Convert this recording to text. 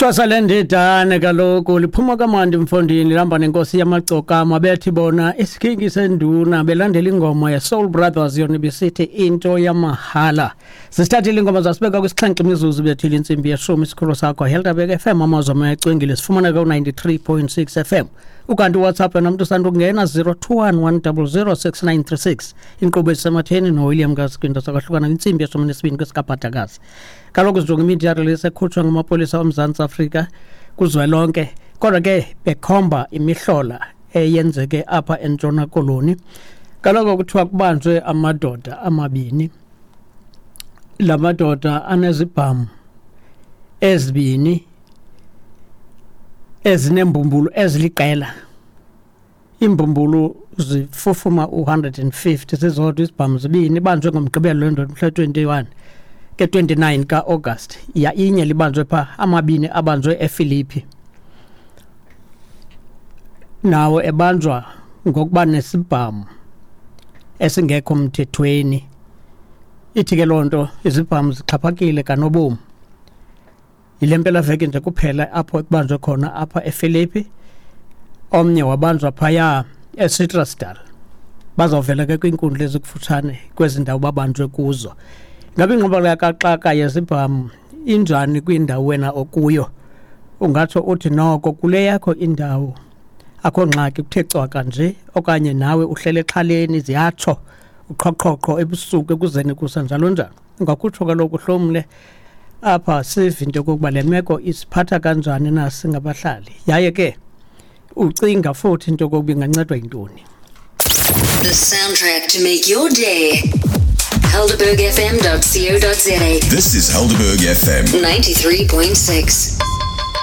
Thwasa lendidane kaloku liphuma kamandi mfondini, lihamba nenkosi yamagcokama, bethi bona isikhingi senduna, belandela ingoma ye-Soul Brothers, yona ibisithi into yamahala. Sisithathile ingoma zasibeka kwisixhenxe imizuzu bethile intsimbi yeshumi. Isikhulu sakho Helderberg FM, amazwi amayacwengile, sifumaneka ku-93.6 FM. Ukanti uWhatsApp yona mntu usandukungena 021 100 6936. Inkqubo esematheni noWilliam Kaskwinto sakwahlukana kwintsimbi yeshumi nesibini kwesikabhadakazi. Kaloku sijonga imedia release ekhutshwa ngamapolisa oMzantsi Afrika kuzwelonke, kodwa ke bekhomba imihlola eyenzeke apha eNtshona Koloni. Kaloku kuthiwa kubanjwe amadoda amabini. La madoda anezibhamu ezibini ezinembumbulu eziliqela. Iimbumbulu zifufuma u-150 zizodwa, izibhamu zibini. Ibanjwe ngoMgqibelo le ndoda, mhla 21 ke 29 ka-August. Ya, inye libanjwe pha, amabini abanjwe ePhilippi, nawo ebanjwa ngokuba nesibhamu esingekho mthethweni. Ithi ke loo nto izibhamu zixhaphakile kanobomi. Yile mpelaveki nje kuphela apho ekubanjwe khona apha ePhilippi, omnye wabanjwa phaya eCitrusdal. Bazawuvela ke kwiinkundla ezikufutshane kwezi ndawo babanjwe kuzo. Ngabe ingxubakaxaka kaxaka yezibhamu injani kwindawo wena okuyo? Ungatsho uthi noko kule yakho indawo akho ngxaki, kuthe cwaka nje, okanye nawe uhlele exhaleni, ziyatsho uqhoqhoqho ebusuku, ekuzeni kusa, njalo njalo? Ungakutsho kaloku uhlomle apha, sive into yokokuba le meko isiphatha kanjani na singabahlali, yaye ke ucinga futhi into yokokuba ingancedwa yintoni. The soundtrack to make your day. HelderbergFM.co.za. This is Helderberg FM. 93.6.